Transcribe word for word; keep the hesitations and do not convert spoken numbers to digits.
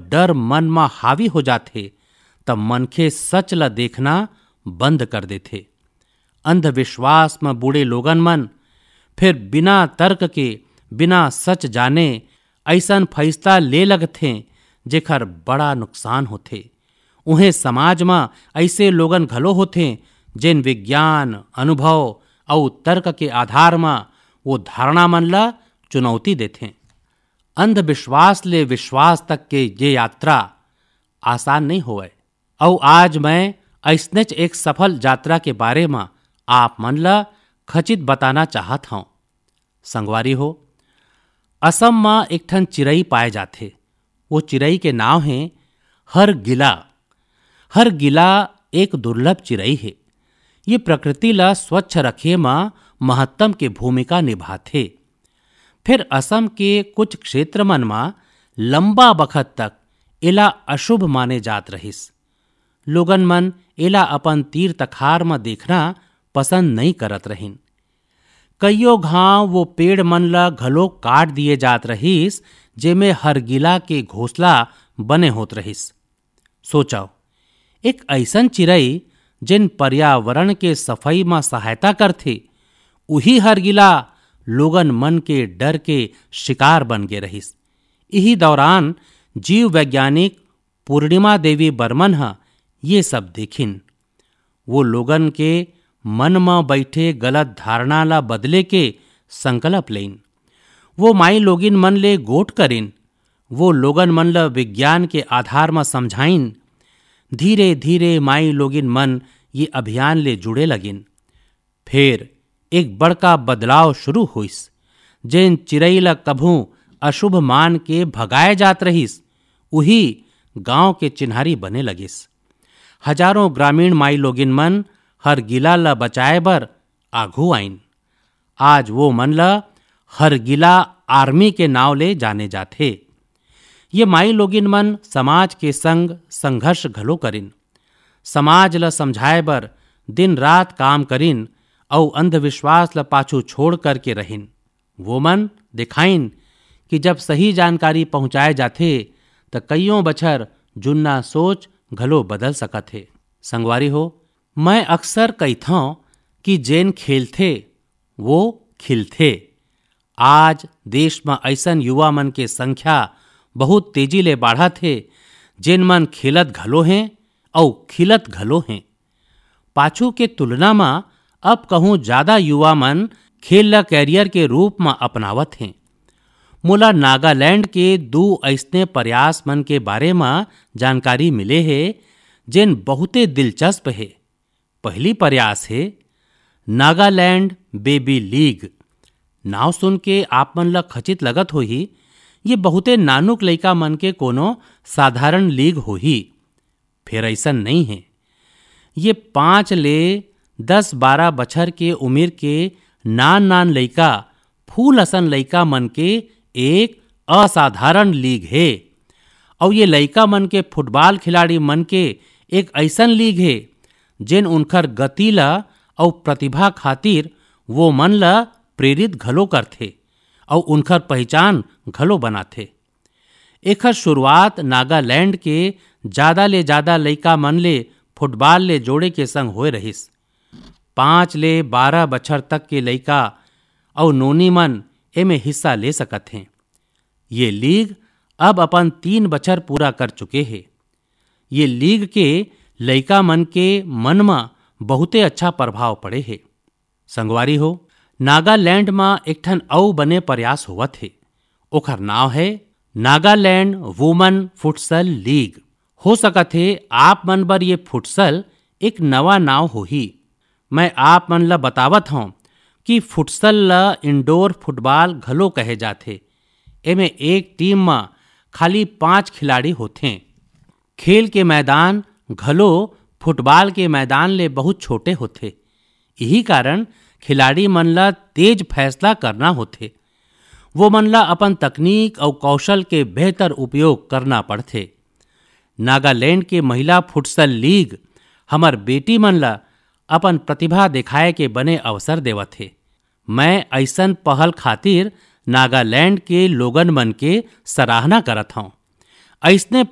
डर मन म हावी हो जाथे, त मनखे सच ल देखना बंद कर देथे। अंधविश्वास म बूड़े लोगन मन फिर बिना तर्क के, बिना सच जाने अइसन फैसला ले लगथें, जेकर बड़ा नुकसान होथे। उहें समाज म अइसे लोगन घलो होथें, जेन विज्ञान, अनुभव अउ तर्क के आधार म वो धारणा मन ल चुनौती देथें। अंधविश्वास ले विश्वास तक के ये यात्रा आसान नइ होवय। अउ आज मैं अइसनेच एक सफल यात्रा के बारे म आप मन ल खचित बताना चाहत हंव। संगवारी हो, असम म एक ठन चिरई पाए जाथे। वो चिरई के नाव हे हरगिला। हरगिला एक दुर्लभ चिरई हे। ये प्रकृति ल स्वच्छ रखे म महत्तम के भूमिका निभाथे। फिर असम के कुछ क्षेत्र मन म लंबा बखत तक एला अशुभ माने जात रहिस। लोगन मन एला अपन तीर तखार म देखना पसंद नइ करत रहिन। कइयो घांव वो पेड़ मन ल घलो काट दिए जात रहिस, जेमे हरगिला के घोंसला बने होत रहिस। सोचव, एक अइसन चिरई, जेन पर्यावरण के सफई म सहायता करथे, उही हरगिला लोगन मन के डर के शिकार बन गे रहिस। इही दौरान जीव वैज्ञानिक पूर्णिमा देवी बर्मन ह ये सब देखिन। वो लोगन के मन म बइठे गलत धारणा ला बदले के संकल्प लेइन। वो माई लोगिन मन ले गोठ करिन। वो लोगन मन ल विज्ञान के आधार म समझाइन। धीरे-धीरे माई लोगिन मन ये अभियान ले जुड़े लगिन। फेर एक बड़का बदलाव शुरू होइस। जेन चिरई ल कभू अशुभ मान के भगाए जात रहिस, उही गांव के चिन्हारी बने लगिस। हजारों ग्रामीण माई लोगिन मन हरगिला ल बचाए बर आघू आइन। आज वो मन ल हरगिला आर्मी के नाव ले जाने जाथे। ये माई लोगिन मन समाज के संग संघर्ष घलो करिन। समाज ल समझाए बर दिन रात काम करिन अउ अंधविश्वास ल पाछू छोड़ करके रहिन। वो मन दिखाइन कि जब सही जानकारी पहुंचाए जाथे, त कइयों बछर जुन्ना सोच घलो बदल सकत हे। संगवारी हो, मैं अक्सर कहिथंव कि जेन खेलथे, वो खिलथे। आज देश म अइसन युवा मन के संख्या बहुत तेजी ले बाढ़त हे, जेन मन खेलत घलो हें अउ खिलत घलो हें। पाछू के तुलना म अब कहूं ज्यादा युवा मन खेल ल कैरियर के रूप म अपनावत हें। मोला नागालैंड के दू अइसने प्रयास मन के बारे म जानकारी मिले हे, जेन बहुते दिलचस्प हे। पहली प्रयास हे नागालैंड बेबी लीग। नाव सुन के आप मन ल खचित लगत होही, ये बहुते नानुक लइका मन के कोनो साधारण लीग होही। फेर अइसन नइ हे। ये पाँच ले दस बारह बछर के उमिर के नान-नान लइका, फूल असन लइका मन के एक असाधारण लीग हे। अउ ये लइका मन के फुटबॉल खिलाड़ी मन के एक अइसन लीग हे, जेन उनखर गति ल अउ प्रतिभा खातिर वो मन ल प्रेरित घलो करथे अउ उनखर पहिचान घलो बनाथे। एखर शुरुआत नागालैंड के जादा ले जादा लइका मन ले फुटबॉल ले जोड़े के संग होए रहिस। पाँच ले बारह बछर तक के लइका अउ नोनी मन एमे हिस्सा ले सकत हें। ये लीग अब अपन तीन बछर पूरा कर चुके हे। ये लीग के लइका मन के मन म बहुते अच्छा प्रभाव पड़े हे। संगवारी हो, नागालैंड म एक ठन अउ बने प्रयास होवत हे। ओखर नाव हे नागालैंड वुमन फुटसल लीग। हो सकत हे आप मन बर ये फुटसल एक नवा नाव होही। मैं आप मन ल बतावत हंव कि फुटसल ल इंडोर फुटबॉल घलो कहे जाथे। एमे एक टीम म खाली पांच खिलाड़ी होथें। खेल के मैदान घलो फुटबॉल के मैदान ले बहुत छोटे होथे। इही कारण खिलाड़ी मन ल तेज फैसला करना होथे। वो मन ल अपन तकनीक अउ कौशल के बेहतर उपयोग करना पड़थे। नागालैंड के महिला फुटसल लीग हमर बेटी मन ल अपन प्रतिभा दिखाए के बने अवसर देवत हे। मैं अइसन पहल खातिर नागालैंड के लोगन मन के सराहना करत हंव। अइसने